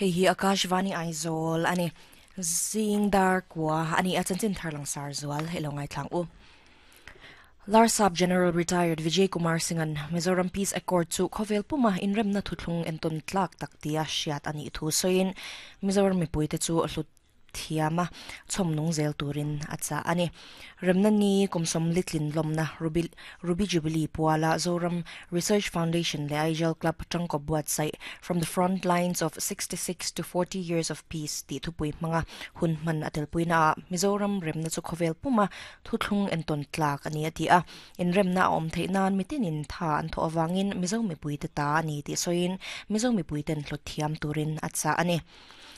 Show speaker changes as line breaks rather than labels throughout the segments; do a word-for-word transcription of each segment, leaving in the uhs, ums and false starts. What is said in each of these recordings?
Hei hi Akashvani Aizawl ani zing dar kwa ani a chanchin tharlang sar zual hello ngai thlang u. Larsap General Retired Vijay Kumar Singhan Mizoram Peace Accord chu khovel puma inremna thuthlung enton tlak taktia hriat ani thu soin Mizoram mipuite chu hlut thiama chhomnung zel turin acha ani remna ni kumsom litlin lomna ruby ruby jubilee puala Zoram Research Foundation le Aijal Club tangko buat sai from the front lines of sixty-six to forty years of peace ti thupui hmanga hun man atel puina Mizoram remna chu khovel puma thuthlung enton tlak ani ati a in remna om theinan mitinin tha an tho awangin Mizo mipui te ta ani ti soin Mizo mipui ten hlot thiam turin acha ani.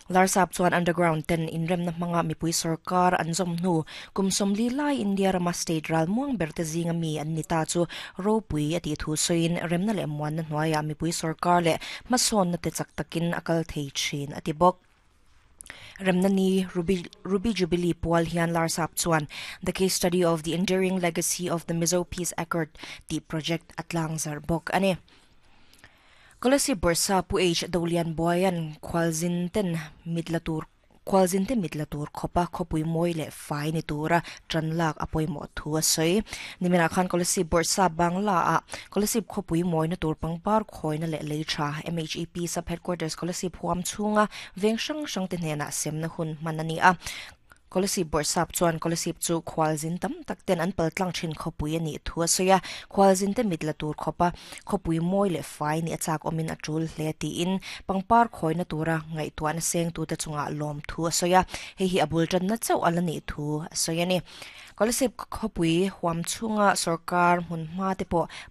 Larsap chuan underground ten inremna hmanga mipui sarkar an zawm hnu kum sawmli lai India rama state ral muang ber te zinga mi an ni ta chu ropui a tih thu sawiin remna leh muanna hnuaiah mipui sarkar leh hmasawnna te chak takin a kal thei thin a ti bawk. Remna ni Ruby, Ruby Jubilee pual hian Larsap chuan The Case Study of the Enduring Legacy of the Mizo Peace Accord ti project atlang zar bawk ani. Kolasib Bursa Pu H Dolian Boyan Khwalzin ten mitlatur Khwalzin te mitlatur khopa khopui moi le fai ni tura tranlak apoimo thu a soi nimina khan Kolasib Bursa Bangla a Kolasib khopui moi na tur pangpar khoina le leitha M H E P sub headquarters Kolasib huam chunga veng sang sang te hnena semna hun manani a Kolasib Borsap chuan Kolasib chu khwalzin tam tak ten an paltlang thin khopui ani thu a soya khwalzin te mitla tur khopa khopui moi le fai ni achak omin atul hle ti in pangpar khoina tura ngai tuan seng tu te chunga lom thu a soya hei hi abul tan na chau alani thu a soya ni Kolasib khopui huam chunga sarkar hun ma te po